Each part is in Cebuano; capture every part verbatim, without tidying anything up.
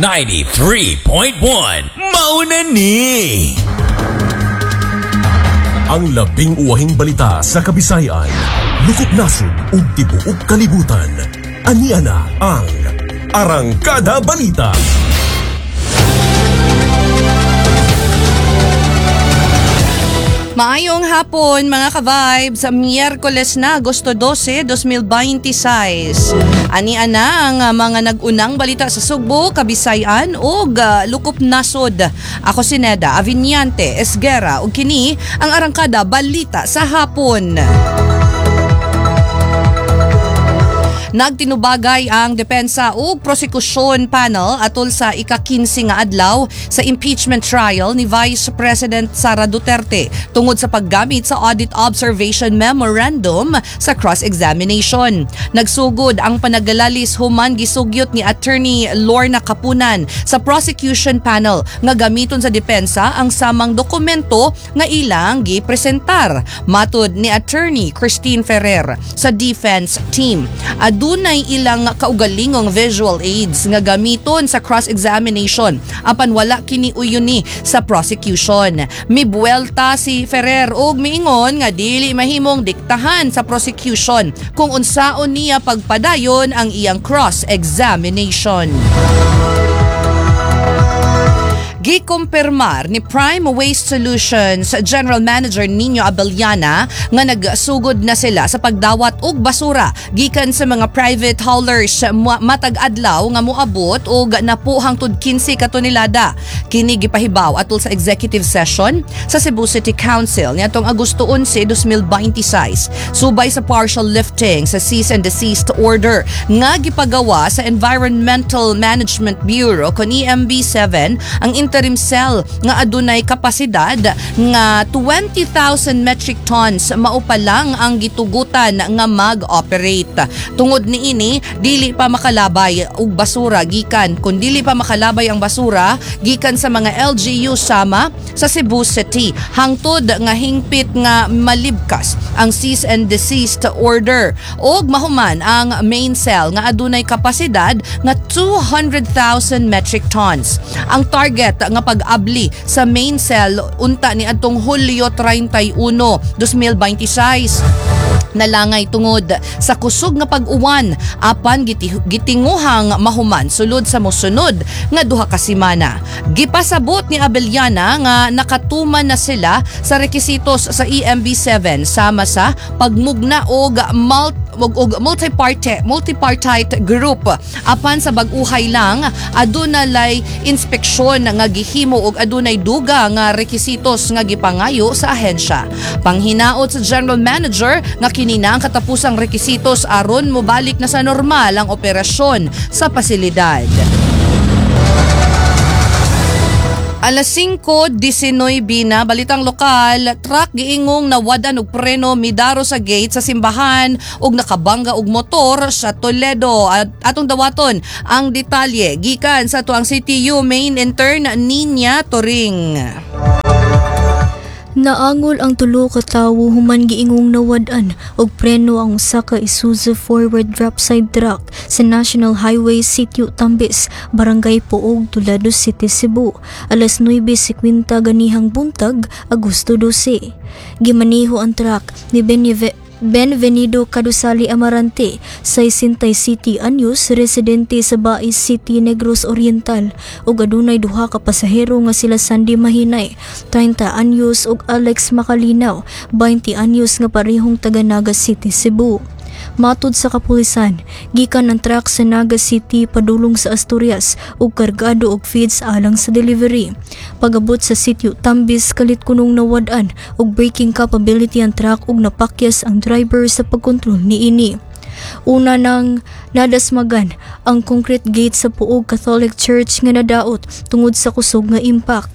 ninety-three point one. Mauna ni! Ang labing uwahing balita sa Kabisayan, lukop nasod ug tibuok kalibutan. Ania na ang Arangkada Balita. Maayong hapon, mga ka-vibes, sa Miyerkules na, Agosto dose, dalawampu't dalawampu't sais. Ani ana ang ah, mga nag-unang balita sa Sugbo, Kabisayan ug ah, Lukop Nasod. Ako si Neda Aviniante Esguera ug kini ang Arangkada Balita sa Hapon. Nagtinubagay ang depensa ug prosekusyon panel atol sa ika-kinse nga adlaw sa impeachment trial ni Vice President Sara Duterte tungod sa paggamit sa Audit Observation Memorandum sa cross-examination. Nagsugod ang panagalalis human gisugyot ni Attorney Lorna Kapunan sa prosecution panel nga gamiton sa depensa ang samang dokumento nga ilang gipresentar. Matud ni Attorney Christine Ferrer sa defense team, adunay ilang kaugalingong visual aids nga gamiton sa cross-examination apan wala kini uyuni sa prosecution. Mibuelta si Ferrer og miingon nga dili mahimong diktahan sa prosecution kung unsaon niya pagpadayon ang iyang cross-examination. Gikumpirmar ni Prime Waste Solutions General Manager Nino Abellana nga nagsugod na sila sa pagdawat og basura gikan sa mga private haulers matag adlaw nga moabot og napo hangtod kinse ka tonelada. Kini gipahibaw atol sa executive session sa Cebu City Council niadtong Agosto onse, dalawampu't dalawampu't sais, subay sa partial lifting sa cease and desist order nga gipagawa sa Environmental Management Bureau kon E M B seven. Ang interim cell nga adunay kapasidad nga twenty thousand metric tons mao pa lang ang gitugutan nga mag-operate. Tungod niini, dili pa makalabay og basura gikan kun dili pa makalabay ang basura gikan sa mga L G U sama sa Cebu City hangtod nga hingpit nga malibkas ang cease and desist order og mahuman ang main cell nga adunay kapasidad nga two hundred thousand metric tons. Ang target nga pag-abli sa main cell unta ni adtong Hulyo trenta y uno, dalawampu't dalawampu't sais, nalangay tungod sa kusog nga pag-uwan, apan giti, gitinguhang mahuman sulod sa mosunod nga duha ka semana. Gipasabot ni Abellana nga nakatuman na sila sa rekisitos sa E M B seven sama sa pagmugna og mult og, og multiparty multipartite group, apan sa bag-uhay lang aduna lay inspeksyon nga gihimo og adunay duga nga rekisitos nga gipangayo sa ahensya. Panghinaot sa general manager nga kini na ang katapusang rekisitos aron mobalik na sa normal ang operasyon sa pasilidad. Alas singko disninuebe na, balitang lokal, truck giingong nawadan og preno, midaro sa gate sa simbahan ug nakabangga og motor sa Toledo. At atong dawaton ang detalye gikan sa atuang C T U main intern Ninya Turing. Naangol ang tulo ka tawo human giingong nawad-an og preno ang usa ka Isuzu forward drop side truck sa National Highway, Sitio Tambis, Barangay Poog, Toledo City, Cebu, alas nuwebe singkwenta ganihang buntag, Agosto dose. Gimaniho ang truck ni Beneve Benvenido Cadusali Amarante, sesenta y siyete anyos, residente sa Bais City, Negros Oriental, ug adunay duha ka pasahero nga sila Sandy Mahinay, trenta anyos, ug Alex Makalinaw, beinte anyos, nga parehong taga Naga City, Cebu. Matud sa kapulisan, gikan ang truck sa Naga City padulong sa Asturias ug kargado og feeds alang sa delivery. Pagabot sa sitio Tambis, kalit kunong nawad-an og braking capability ang truck ug napakyas ang driver sa pagkontrol niini. Una nang nadasmagan ang concrete gate sa Poog Catholic Church nga nadaot tungod sa kusog nga impact.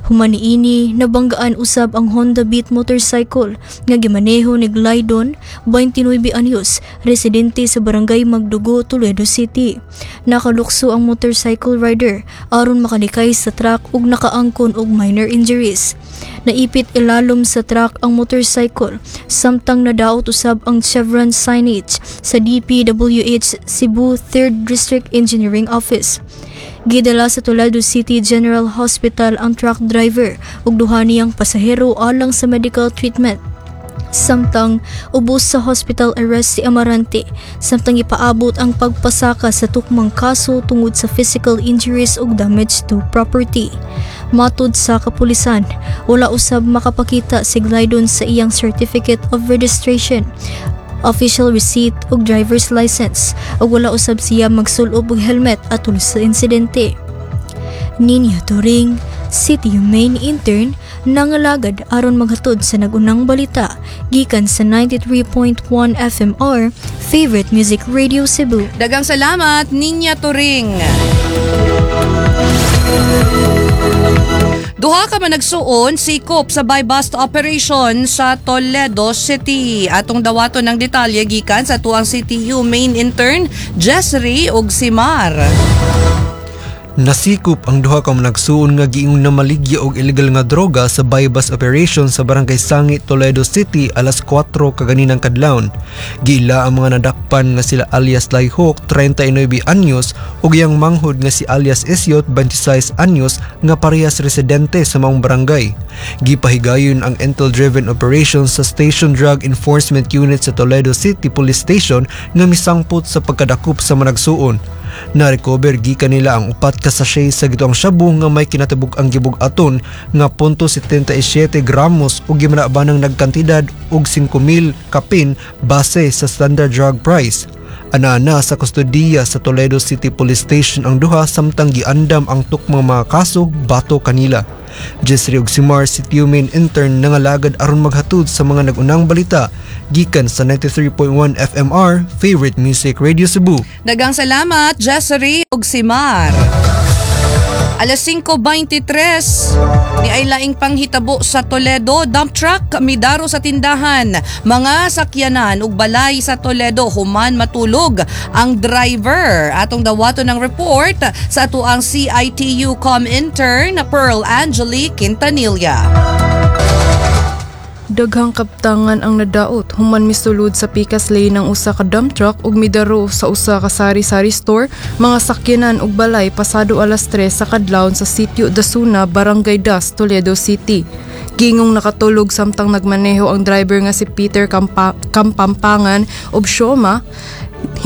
Human niini, nabanggaan usab ang Honda Beat motorcycle nga gimaneho ni Glydon, beinte nuwebe anyos, residente sa Barangay Magdugo, Toledo City. Nakalukso ang motorcycle rider aron makalikay sa truck ug nakaangkon og minor injuries. Naipit ilalom sa truck ang motorcycle samtang nadaot usab ang chevron signage sa D P W H Cebu third District Engineering Office. Gidala sa Toledo City General Hospital ang truck driver ug duha niyang pasahero alang sa medical treatment. Samtang ubos sa hospital arrest si Amarante, samtang ipaabot ang pagpasaka sa tukmang kaso tungod sa physical injuries ug damage to property. Matod sa kapulisan, wala usab makapakita si Glidon sa iyang certificate of registration, official receipt ug driver's license ug wala usab siya magsulob og helmet atol sa insidente. Ninya Turing, C T U Main Intern, nangalagad aron maghatod sa nag-unang balita gikan sa ninety-three point one F M R, Favorite Music Radio Cebu. Daghang salamat, Ninya Turing. Duha ka managsuon sikop sa buy-bust operation sa Toledo City. Atong dawaton ng detalye gikan sa tuang C T U main intern Jessry ug Simar. Nasikop ang duha ka managsuon nga giingon na maligya og illegal nga droga sa buy-bust operation sa Barangay Sangi, Toledo City alas kwatro kaganinang kadlawon. Giila ang mga nadakpan nga sila alias Layhok, treinta y nuebe anyos, ug iyang manghod nga si alias Isyot, twenty-six anyos, nga parehas residente sa maong barangay. Gipahigayon ang intel-driven operation sa Station Drug Enforcement Unit sa Toledo City Police Station nga misangpot sa pagkadakop sa managsuon. Na-recover gikan nila ang upat ka sachet sa gituang shabu nga may kinatibuk-ang gibug-aton nga zero punto seven seven gramos ug gimanabanang nagkantidad og singko mil kapin base sa standard drug price. Ana-ana sa kustodiya sa Toledo City Police Station ang duha samtang giandam ang tukmang mga kaso batok kanila. Jessry ug Simar, C T U Main Intern, nangalagad aron maghatod sa mga nag-unang balita gikan sa ninety-three point one F M R, Favorite Music Radio Cebu. Daghang salamat, Jessry ug Simar. Alas singko bente tres, ni ay laing panghitabo sa Toledo, dump truck midaro sa tindahan, mga sakyanan ug balay sa Toledo human matulog ang driver. Atong dawaton ng report sa atuang C I T U Com Intern Pearl Angeli Quintanilla. Daghang kaptangan ang nadaot human misulod sa pikas lane ang usa ka dump truck ug midaro sa usa ka sari-sari store, mga sakyanan ug balay pasado alas tres sa kadlawon sa Sitio Dasuna, Barangay Das, Toledo City. Giingong nakatulog samtang nagmaneho ang driver nga si Peter Kampa- Kampampangan ug Sioma.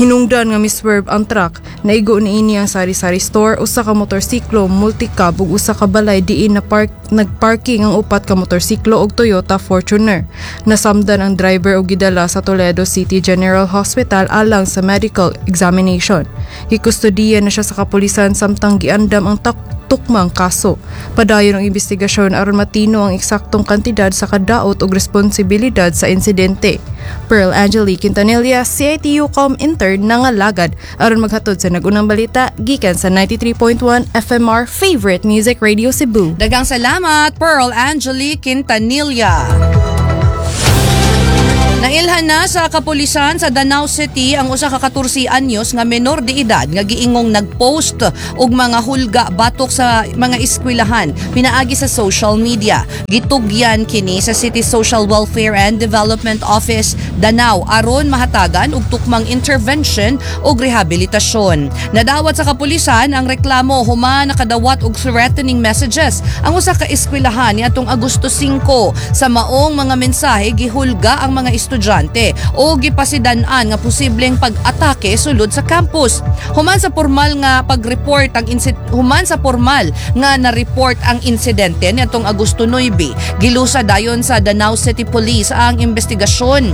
Hinungdan nga miswerve ang truck. Naigo niini ang sari-sari store, usa ka motorsiklo, multicab ug usa ka balay diin na park nagparking ang upat ka motorsiklo ug Toyota Fortuner. Nasamdan ang driver ug gidala sa Toledo City General Hospital alang sa medical examination. Gikustodiya na siya sa kapulisan samtang giandam ang tak tukmang kaso. Padayon ang investigasyon aron matino ang eksaktong kantidad sa kadaot ug responsibilidad sa insidente. Pearl Angeli Quintanilla, C I T U Com Intern, nangalagad aron maghatod sa nag-unang balita gikan sa ninety-three point one F M R, Favorite Music Radio Cebu. Daghang salamat, Pearl Angeli Quintanilla. Nailhan na sa kapulisan sa Danao City ang usa ka katorse anyos nga menor de edad nga giingong nagpost og mga hulga batok sa mga eskwelahan pinaagi sa social media. Gitugyan kini sa City Social Welfare and Development Office Danao aron mahatagan og tukmang intervention ug rehabilitasyon. Nadawat sa kapulisan ang reklamo human nakadawat og threatening messages ang usa ka eskwelahan niadtong Agosto singko. Sa maong mga mensahe, gihulga ang mga estudyante o gipasidan-an nga posibleng pag-atake sulod sa campus. Human sa formal nga pag-report ang insid- human sa formal nga na-report ang insidente niadtong Agosto nuebe, gilusa dayon sa Danao City Police ang investigasyon.